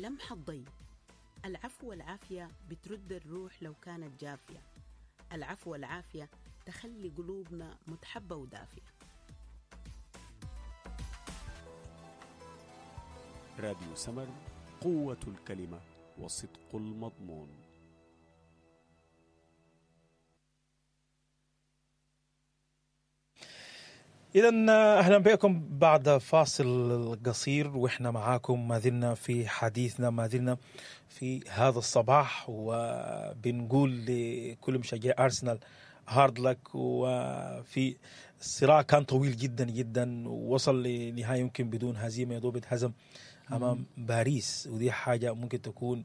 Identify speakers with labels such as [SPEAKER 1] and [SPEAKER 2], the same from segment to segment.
[SPEAKER 1] لمحة ضي. العفو والعافية بترد الروح لو كانت جافية. العفو والعافية تخلي قلوبنا متحبة ودافية.
[SPEAKER 2] راديو سمر، قوة الكلمة وصدق المضمون.
[SPEAKER 3] إذا أهلا بكم بعد فاصل قصير، وإحنا معاكم ما زلنا في حديثنا، ما زلنا في هذا الصباح، وبنقول لكل مشجعي أرسنال hard luck. وفي الصراع كان طويل جدا جدا، ووصل لنهاية يمكن بدون هزيمة، يا دوب اتهزم أمام باريس، ودي حاجة ممكن تكون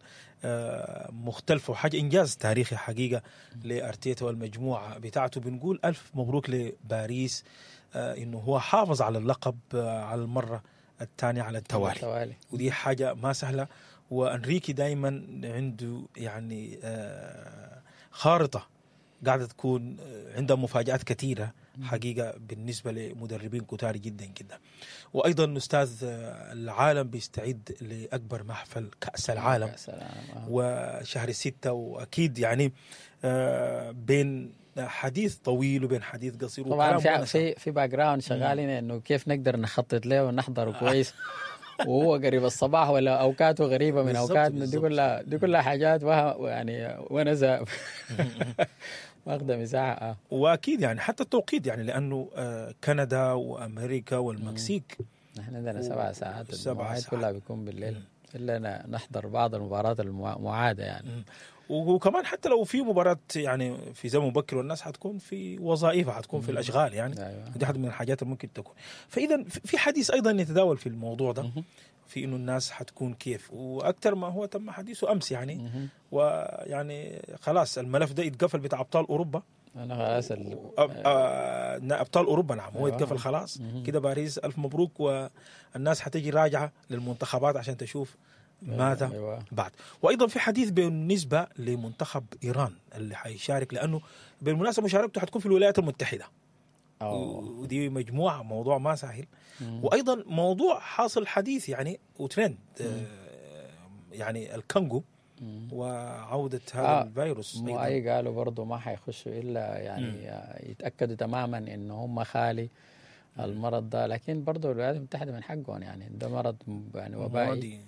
[SPEAKER 3] مختلفة وحاجة إنجاز تاريخي حقيقة لأرتيتا والمجموعة بتاعته. بنقول ألف مبروك لباريس، انه هو حافظ على اللقب على المرة الثانية على التوالي، ودي حاجة ما سهلة. وانريكي دائما عنده يعني خارطة قاعدة تكون عندها مفاجات كثيرة حقيقة بالنسبة لمدربين كتار جدا جدا. وايضا استاذ، العالم بيستعد لاكبر محفل كاس العالم، وشهر 6، واكيد يعني بين حديث طويل وبين حديث قصير.
[SPEAKER 4] طبعا في background شغالين انه كيف نقدر نخطط له ونحضره كويس، وهو قريب الصباح ولا اوقاته غريبة من اوقاتنا. دي كلها حاجات يعني ونسه واخده مساحة.
[SPEAKER 3] واكيد يعني حتى التوقيت، يعني لانه كندا وامريكا والمكسيك.
[SPEAKER 4] نحن عندنا 7 ساعات، 7 ساعات كلها بيكون بالليل، الا نحضر بعض المباريات المعادة يعني.
[SPEAKER 3] وكمان حتى لو في مباراة يعني في زمن مبكر، والناس حتكون في وظائفها، حتكون في الاشغال يعني. دي واحدة من الحاجات اللي ممكن تكون. فاذا في حديث ايضا يتداول في الموضوع ده، في انه الناس حتكون كيف، واكثر ما هو تم حديثه امس يعني، ويعني خلاص الملف ده اتقفل بتاع ابطال اوروبا.
[SPEAKER 4] انا خلاص
[SPEAKER 3] ابطال اوروبا، نعم، هو اتقفل خلاص كده. باريس الف مبروك، والناس حتجي راجعه للمنتخبات عشان تشوف ماذا بعد. وايضا في حديث بالنسبة لمنتخب ايران اللي حيشارك، لانه بالمناسبة مشاركته حتكون في الولايات المتحدة. ودي مجموعة موضوع ما سهل. وايضا موضوع حاصل حديث يعني وترند، يعني الكونغو وعوده هذا الفيروس.
[SPEAKER 4] مو اي قالوا برضه ما حيخشوا الا يعني يتاكدوا تماما انه هم خالي المرض ده. لكن برضه الولايات المتحدة من حقهم، يعني ده مرض يعني وبائي
[SPEAKER 3] معدي.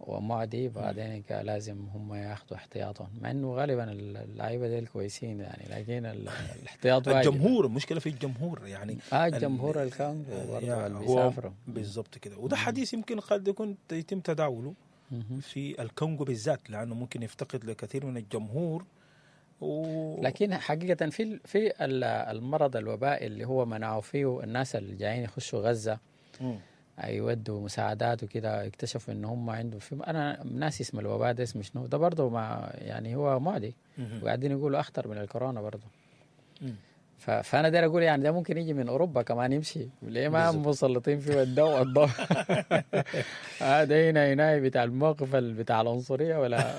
[SPEAKER 4] ومعدي، بعدين لازم هم ياخذوا احتياطهم، مع انه غالبا اللعيبة ديل كويسين يعني، لكن الاحتياط واجب.
[SPEAKER 3] الجمهور، المشكلة في الجمهور يعني.
[SPEAKER 4] الجمهور الكونغو برضه اللي
[SPEAKER 3] هو
[SPEAKER 4] بيسافروا.
[SPEAKER 3] بالضبط كده، وده حديث يمكن قد يكون يتم تداوله في الكونغو بالذات، لانه ممكن يفتقد لكثير من الجمهور
[SPEAKER 4] لكن حقيقة في المرض الوبائي اللي هو منعوا فيه الناس اللي جايين يخشوا غزة يودوا مساعدات وكده، اكتشفوا ان هم عندهم في، انا ناسي اسم الوباء ده، اسمه شنو ده؟ برضه ما يعني هو معدي، وقاعدين يقولوا اخطر من الكورونا برضه. فانا داير اقول يعني ده ممكن يجي من اوروبا كمان يمشي، ليه ما مسلطين فيه الضوء؟ هذا هنا بتاع الموقف بتاع العنصرية ولا